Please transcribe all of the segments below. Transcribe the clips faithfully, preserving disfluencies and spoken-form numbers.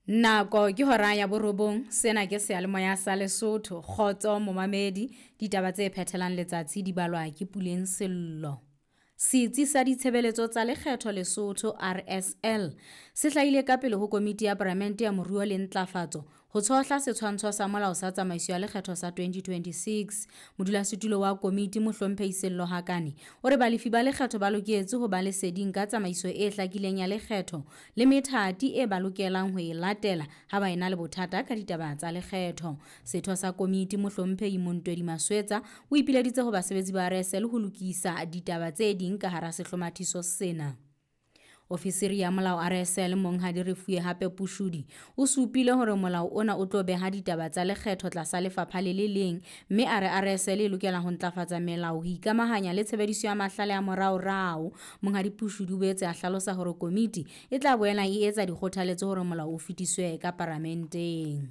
Nako ke hora ya borobong, sena ke seyalemoya sa Lesotho. Kgotso momamedi, ditaba tse phethelang letsatsi di balwa ke Puleng Sello. Setsi sa Ditshebeletso tsa Lekgetho Lesotho R S L se hlahile ka pele ho Komiti ya Palamente ya Moruo le Ntlafatso ho tshohla setshwantsho sa molao sa tsamaiso ya lekgetho sa twenty twenty-six. Modulasetulo wa komiti Mohlomphehi Sello Hakane o re balefi ba lekgetho ba loketse ho ba leseding ka tsamaiso e hlakileng ya lekgetho le methati e ba lokelang ho e latela ha ba ena le bothata ka ditaba tsa lekgetho. Setho sa komiti Mohlomphehi Montwedi Maswetsa o ipileditse ho basebetsi ba R S L ho lokisa ditaba tse ding ka hara sehlomathiso sena. Ofisiri ya molao R S L Monghadi Refuwe Hape Pushudi o supile hore molao ona o tlo beha ditaba tsa lekgetho tlasa lefapha le le leng, mme a re R S L e lokela ho ntlafatsa melao ho ikamahanya le tshebediso ya mahlale a moraorao. Monghadi Pushudi o boetse a hlalosa hore komiti e tla boela e etsa dikgothaletso hore molao o fetiswe ka paramenteng.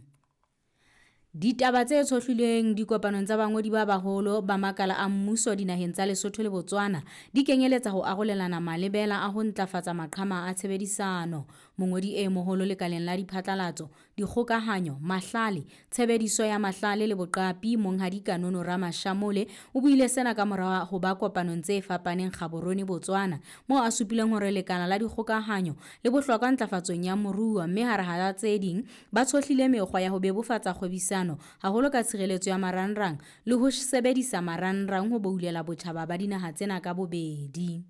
Ditaba tse tshohlilweng dikopanong tsa bangodi ba baholo ba makala a mmuso dinaheng tsa Lesotho le Botswana di kenyeletsa ho arolelana malebela a ho ntlafatsa maqhama a tshebedisano. Mongodi e moholo lekaleng la diphatlalatso, dikgokahanyo, mahlale, tshebediso ya mahlale le boqapi Monghadi Kanono Ramashamole o buile sena ka mora ho ba kopanong tse fapaneng Gaborone, Botswana, moo a supileng hore lekala la dikgokahanyo le bohlokwa ntlafatsong ya moruo, mme hara hara tse ding ba tshohlile mekgwa ya ho bebofatsa kgwebisano haholo ka tshireletso ya marangrang le ho sebedisa marangrang ho boulela botjhaba ba dinaha tsena ka bobedi.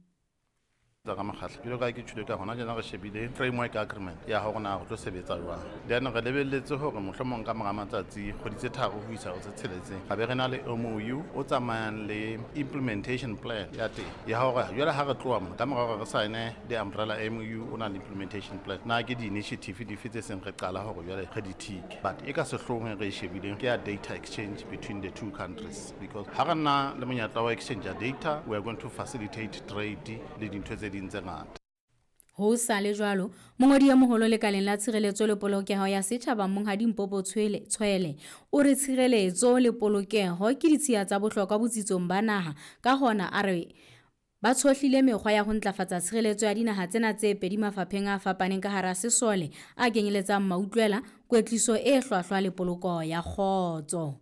Tsa ka mokgatlo. Jwalo ka ha ke tjhole ka hona tjena re shebile framework agreement ya hore na re tlo sebetsa jwang. Then re lebelletse hore mohlomong ka mora matsatsi kgwedi tse tharo ho isa ho tse tsheletseng, ra be re na le M O U o tsamayang le implementation plan ya teng. Ya hore jwale ha re tloha mona, ka mora hore re sign-e the umbrella M O U o na le implementation plan. Na ke di-initiative dife tse seng re qala hore jwale re di tick. But e ka sehloohong re e shebileng ke ya data exchange between the two countries, because ha re na le monyetla wa exchange ya data, we are going to facilitate trade le dintho tse ding tse ngata. Ho sa le jwalo, mongodi e moholo lekaleng la tshireletso le polokeho ya setjhaba Monghadi Mpopo Tshwele, Tshwele o re tshireletso le polokeho ke ditshiya tsa bohlokwa botsitsong ba naha, ka hona a re ba tshohlile mekgwa ya ho ntlafatsa tshireletso ya dinaha tsena tse pedi mafapheng a fapaneng ka hara sesole a kenyeletsang mautlwela, kwetliso e hlwahlwa le poloko ya kgotso.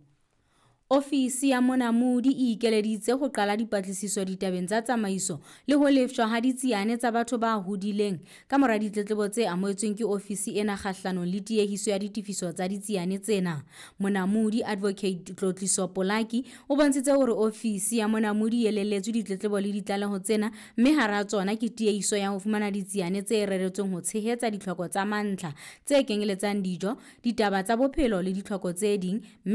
Ofisi ya Monamodi e ikeleditse ho qala dipatlisiso ditabeng tsa tsamaiso le ho lefshwa ha ditsiane tsa batho ba hodileng ka mora ditletlebo tse amohetsweng ke ofisi ena kgahlanong le tiehiso ya ditefiso tsa ditsiane tsena. Monamodi Advocate Tlotliso Polaki o bontshitse hore ofisi ya Monamodi e elelletswe ditletlebo le ditlaleho tsena, mme hara tsona ke tiehiso ya ho fumana ditsiane tse reretsweng ho tshehetsa ditlhoko tsa mantlha tse kenyeletsang dijo, ditaba tsa bophelo le ditlhoko tse ding, mme